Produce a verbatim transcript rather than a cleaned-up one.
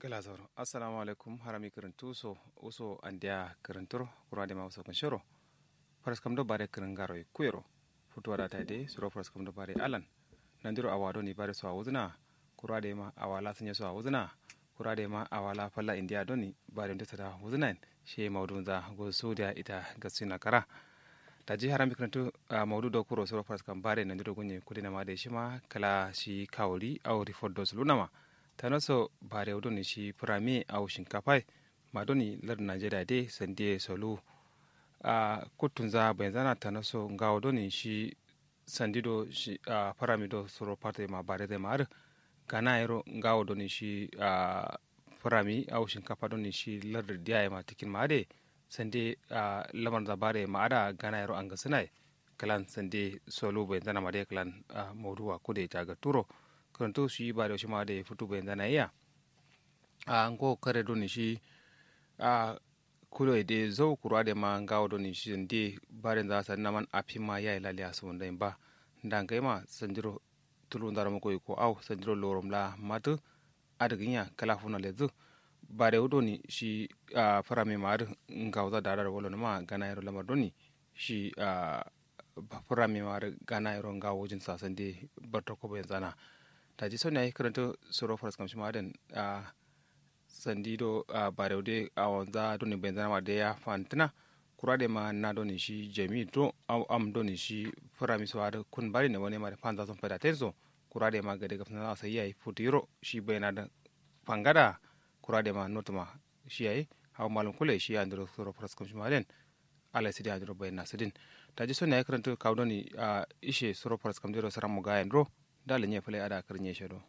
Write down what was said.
Gla zauro assalamu alaikum harami kǝrǝntu so uso andeya kǝrǝnturo kura dema uso kǝnshero. Faraskam do bare kǝrǝngaro ye kuyero futuwa da ta de suro faraskam do bare alan. Nandiro awa doni bare so awuzǝna kura dema awa la sǝnye so awuzǝna kura dema awa la falla indiya doni bare nde sada wuzǝna yen. Shiye maudunza gozo saudiya ita gasina kara. Daji harami kǝrǝntu maudu do kuro suro faraskam bare nandiro gunye kudina ma de shima kala shi kawuri au rifot do suluna ma. Tano so barewu doni shi furami au shinkafa ye ma doni lardǝ najeriya de sandi ye solu. Kuttunza bainzana tano so ngawo doni shi sandi do shi furami do suro fata ye ma bare zai ma adǝ gana yero ngawo doni shi furami au shinkafa doni shi lardǝ diya ye ma tikin ma adǝ ye sandi ye. Lamarza bare ye ma adǝ gana yero angasǝna ye klan sande solu bainzana ma dai klan. Mauduwa kude caga turo kǝrǝntu shi barewu shima dai futu bainzana ye ya. Ngo kare doni shi kulo ye dai zau kuru adai ma ngawo doni shi sande barenza sadǝna man afin ma yayi laliya sumundai ba. Nda ngai ma sandiro tulunzaro muko iko au sandiro lorom la matǝ. Adǝ gǝnya kǝla funa lezǝ barewu doni shi furami ma adǝ ngawuza dara da walonǝma gana yero lamar doni shi furami ma adǝ gana yero ngawo wujin sasande bartoko bainzana. Daji soni yayi kǝrǝntǝ suro faraskam shima adǝn sandi do barewu de awonza doni bainzana ma de ya fantǝna. Kura de ma na doni shi jami do au am doni shi furami so adǝ kun bari ne wane ma de fanza son faida ten so kura de ma gade gafsana sai yayi futu yiro shi baina da fangada. Kura de ma notuma shi yayi hawa malum kule shi andiro suro faraskam shima den. Alai sidi andiro baina sidin. Daji soni yayi kǝrǝntǝ kawu doni ishe suro faraskam dero saran mugayen ro. Dala nye fale ada kǝrǝnye she do.